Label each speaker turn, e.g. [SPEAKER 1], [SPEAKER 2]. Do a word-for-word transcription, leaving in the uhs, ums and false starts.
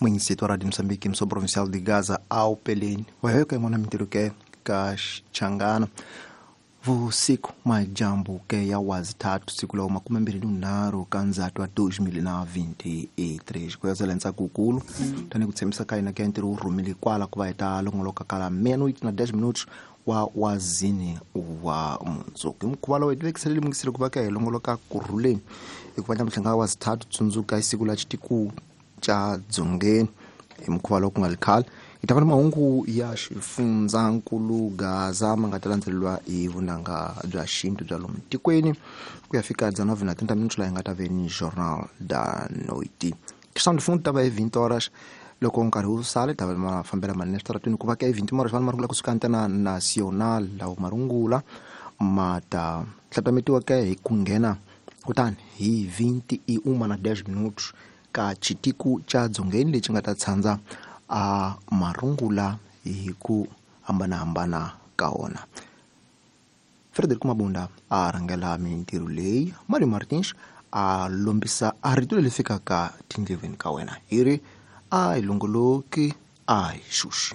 [SPEAKER 1] Município de Moçambique, Missão Provincial de Gaza, ao Pelene. Waheka mwana mintirho ke ka Xichangana. Vusiku majambu ke ya wazithathu siku la makumi mbirhi nharhu ka Ndzhati wa dois mil na vinte e três. Ku yazela ntsako wukulu tani ku tshembisa ka hina ke ntirho wu rhumile kwala ku va hi ta longoloka kala meia-noite na dez minutos wa wazini wa mundzuku. Hi mukhuva lowu hi tivekisele lemukisile ku va ka hi longoloka kurhuleni hikuva nyamuhla nga wazithathu tsundzuka hi siku la xitiku xa dzongeni. Hi mukhuva lowu ku nga ri khale hi ta va na mahungu ya xifundzankulu Gaza ma nga ta landzeleriwa hi vunanga bya xintu bya lomu tikweni ku ya fika dezenove na trinta minutos laha hi nga ta ve ni Jornal da Noite. Questão de fundo ta va hi vinte horas loko nkarhi wu sale ta va ma fambela manene switarateni ku va ka hi vinte horas vanhu marungula kusuka Antena Nacional lawo marungula ma ta hlantametiwa ke hi ku nghena kutani hi vinte e uma na dez minutos ka xitiku xa dzongeni lexi nga ta tshandza a marungula hi ku hambanahambana ka wona. Frederico Mabunda a rhangela mintirho leyi, Mario Martins a lombisa a rito leri fikaka tindleveni ka wena hi ri a hi longoloki a hi xuxi.